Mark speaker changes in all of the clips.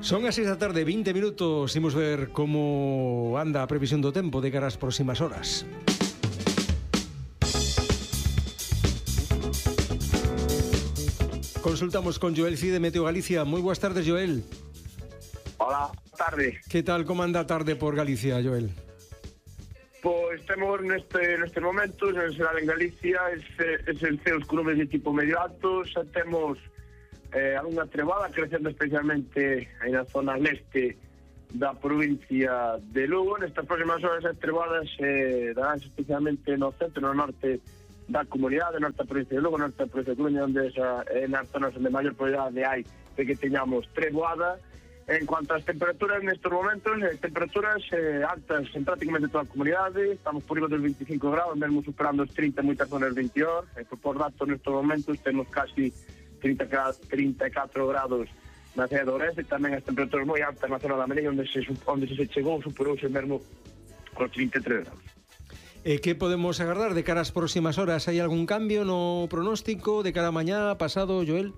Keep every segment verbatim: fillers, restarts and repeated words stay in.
Speaker 1: Son as seis da tarde, vinte minutos. Imos ver como anda a previsión do tempo de cara ás próximas horas. Consultamos con Joel Cid de Meteo Galicia. Moi boas tardes, Joel.
Speaker 2: Hola, tarde.
Speaker 1: Que tal, como anda a tarde por Galicia, Joel?
Speaker 2: Pois temos neste, neste momento, en xeral en Galicia, ese, ese ceos con nubes de tipo medio alto, xa temos eh, algunha trevada crecendo especialmente aí na zona leste da provincia de Lugo. Nestas próximas horas as trevadas eh, darán especialmente no centro e no norte da comunidade, norte da provincia de Lugo, norte da provincia de Coruña, onde esa, é nas zonas onde maior probabilidade hai de que teñamos treboada. En cuanto ás temperaturas, nestes momentos, eh, temperaturas eh, altas en prácticamente toda a comunidade, estamos por riba dos veinticinco grados, mesmo superando os trinta en moitas zonas de interior, e por datos nestes momentos temos casi trinta e catro grados na cidade de Ourense, e tamén as temperaturas moi altas na zona da Melilla, onde se, onde se chegou, superouse mesmo os trinta e tres grados.
Speaker 1: E que podemos agardar de cara ás próximas horas? Hai algún cambio no pronóstico de cara a mañá, pasado, Joel?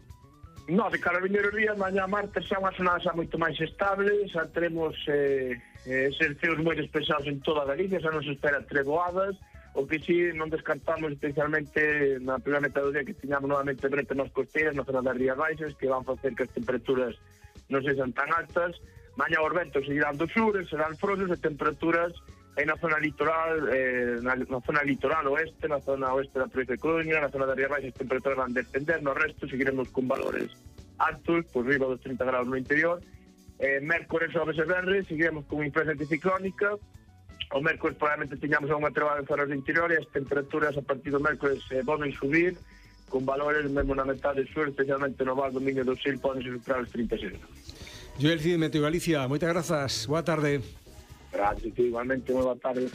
Speaker 2: No, de cara a vindeiros días, mañá martes xa unha semana xa moito máis estable, xa teremos eh, eh, exercios moi despesados en toda a Galicia, xa non se espera treboadas, o que si non descartamos especialmente na primeira metade do día que tiñamos novamente brete nas costeiras, na zona das Rías Baixas, que van facer que as temperaturas non sexan tan altas. Mañá os ventos seguirán do sur, serán frosos e temperaturas en na zona litoral, eh, na, na zona litoral oeste, na zona oeste da provincia de Coruña, na zona das Rías Baixas, as temperaturas van descender, no resto seguiremos con valores altos, por riba dos trinta grados no interior. Eh, mércores, xoves e venres, seguiremos con influencia anticiclónica. O mércores probablemente teñamos unha trevada en zonas do interior e as temperaturas a partir do mércores eh, volven subir, con valores mesmo na metade sur, especialmente no Val do Miño do Sil, poden superar os trinta e seis grados.
Speaker 1: Joel Cid de Meteo Galicia, moitas grazas, boa tarde.
Speaker 2: Gracias, igualmente, moi boa tarde.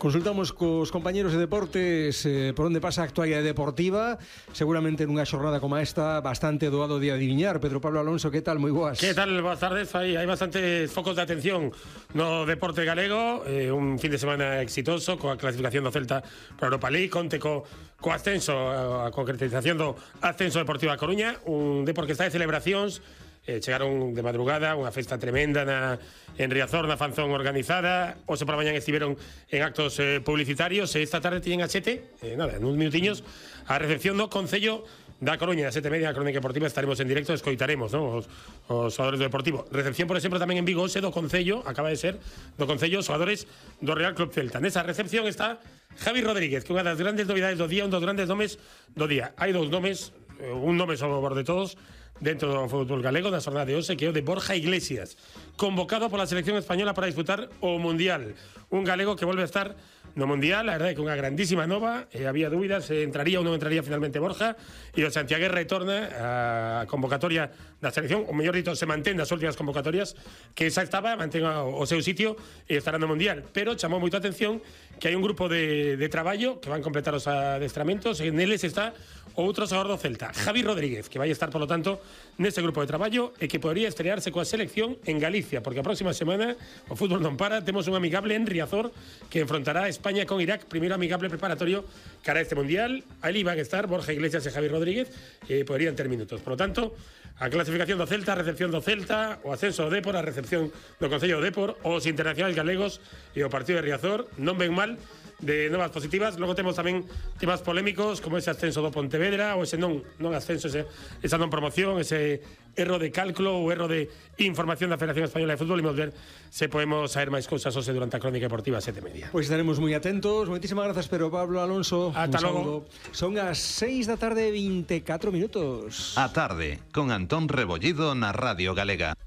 Speaker 1: Consultamos cos compañeros de deportes eh, por onde pasa a actualidade deportiva. Seguramente nunha xornada como esta bastante doado de adiviñar. Pedro Pablo Alonso, que tal? Moi boas.
Speaker 3: Que tal? Boas tardes. Hai, hai bastantes focos de atención no deporte galego. Eh, un fin de semana exitoso coa clasificación do Celta para Europa League, conte co, co ascenso, a concretización do ascenso Deportivo a Coruña, un deporte que está de celebracións. Eh, chegaron de madrugada, unha festa tremenda na, en Riazor, na fanzón organizada. Hoxe por a mañan estiveron en actos eh, publicitarios, e esta tarde tiñen a sete, eh, nada, en uns minutiños, a recepción do Concello da Coruña, a sete e media, a Crónica Deportiva, estaremos en directo, escoitaremos, ¿no? os, os xogadores do Deportivo. Recepción, por exemplo, tamén en Vigo, hoxe do Concello, acaba de ser, do Concello, os xogadores do Real Club Celta. Nesa recepción está Javi Rodríguez, que é unha das grandes novidades do día, un dos grandes nomes do día. Hai dous nomes, un nome sobre o borde de todos, dentro do fútbol galego da xornada de hoxe, que é o de Borja Iglesias, convocado pola selección española para disputar o Mundial. Un galego que volve a estar no Mundial, a verdade é que unha grandísima nova, eh, había dúbidas, se entraría ou non entraría finalmente Borja, e o Santiago retorna a convocatoria da selección, o mellor dito, se mantén das últimas convocatorias, que xa estaba, mantén o seu sitio e estará no Mundial, pero chamou moita atención que hai un grupo de, de traballo que van completar os adestramentos, e neles está outro xogador do Celta, Javi Rodríguez, que vai estar, polo tanto, nese grupo de traballo e que podría estrearse coa selección en Galicia, porque a próxima semana o fútbol non para, temos un amigable en Riazor que enfrontará a España con Irak, primeiro amigable preparatorio cara a este Mundial. Aí van a estar Borja Iglesias e Javi Rodríguez, e podrían ter minutos. Por lo tanto, a clasificación do Celta, a recepción do Celta, o ascenso do Dépor, a recepción do Concello do Dépor, os internacionais galegos e o partido de Riazor non ven mal de novas positivas. Logo temos tamén temas polémicos como ese ascenso do Pontevedra, ou ese non, non ascenso, ese, esa non promoción, ese erro de cálculo ou erro de información da Federación Española de Fútbol. Imos ver se podemos saber máis cousas hoxe durante a Crónica Deportiva a sete e media.
Speaker 1: Pois estaremos moi atentos. Moitísimas grazas, Pedro Pablo Alonso.
Speaker 3: Ata logo.
Speaker 1: Son as seis da tarde, vinte e catro minutos.
Speaker 4: A tarde, con Antón Rebollido na Radio Galega.